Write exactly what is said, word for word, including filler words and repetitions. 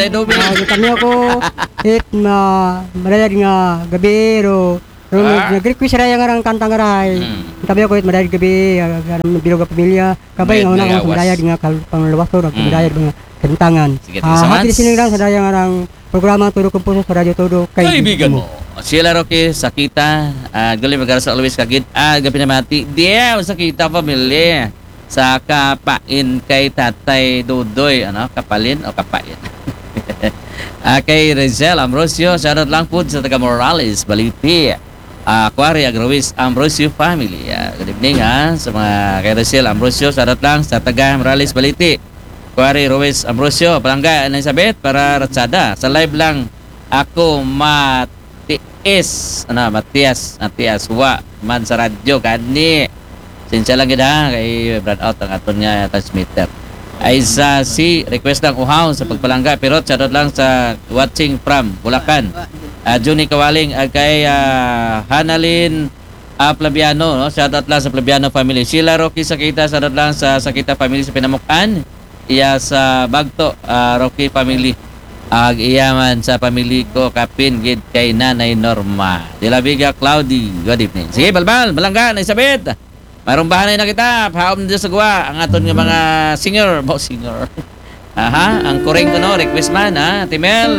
Tatay Dubing. Ah, yung kami ako, it ma madayad nga gabi, ro, ro Ah. nag-request raya nga rang kanta nga rahay. Hmm. Yung kami ako, it madayad gabi, ah, nga bilog nga pamilya, kabay May nga una nagawas. Ko madayad nga kalpang lawas ko, Hmm. Madayad mga kantangan. Sige, Ah, thank you so happy much. Listening lang sa daya nga rang programa Todo Kumpuso sa Radyo Todo. Kaibigan mo. Sila Rocky Sakita, ah, Gulay Magarza always kagid, ah, gabi na mati. Diya, Sakita family. Sa kapain kay Tatay Dudoy, ano? Kapalin o kapain? Ah, kay Rizal Ambrosio, shoutout lang po sa taga Morales, Baliti. Ah, Kuwari Agrawis Ambrosio family. Ah, good evening ha, sa mga kay Rizal Ambrosio, shoutout lang sa taga Morales, Baliti. Kuwari Ruiz Ambrosio, palangga, Elizabeth, para ratsada. Sa live lang ako, Matias, ano, Matias, Matias, wa man sa radyo, gani. Sinsya lang gid ha, kay brownout ang aton nga transmitter. Ay sa si request lang uhaw sa pagpalangga, pero shoutout lang sa watching from Bulacan. Ah, Junie Kawaling, ah, kay ah, Hanalin ah, Flaviano, no? Shoutout lang sa Flaviano family. Sheila Rocky Sakita, shoutout lang sa Sakita family sa Pinamukan. Iya sa Bagto, ah, Rocky family. Ag iya man sa family ko, kapin gid kay Nanay Norma. De La Vega Cloudy, good evening. Sige, balbal, malangga, Elizabeth. Marumbahan na kita, pahaom din sa guwa, ang aton nga mga singer, bo singer. Aha, ang kuring ko, no, request man, ha, Timel.